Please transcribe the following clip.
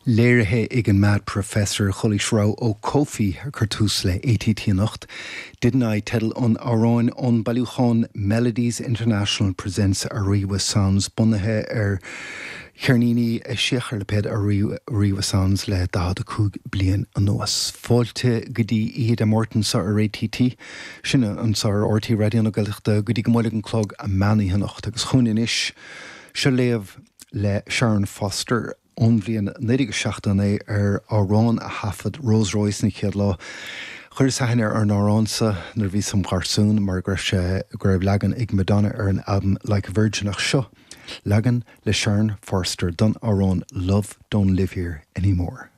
Léirithe ag an Mad Professor, chualaís rogha ó Kofi ag cur tús le ATT anocht. Didn't I teideal an amhráin ón bailiúchán Melodies International Presents Ariwa Sounds bunaithe ar cheirníní a eisíodh ar lipéad Ariwa Sounds le 45 bliain anuas. Fáilte go dtí Oíche Dé Máirt anseo ar ATT. Sin anseo ar RTÉ Raidió na Gaeltachta go dtí go mbuailfidh an clog meán oíche anocht. Agus chugainn anois, seo léamh le Sharon Foster ón bhliain 1979 ar amhrán a thaifead Rose Royce an chéad lá. Chuireas aithne ar an amhrán seo nuair a bhíos im gharsún mar go raibh sé, go raibh leagan ag Madonna ar an albam Like a Virgin ach seo leagan le Sharon Forster don amhrán Love Don't Live Here Anymore.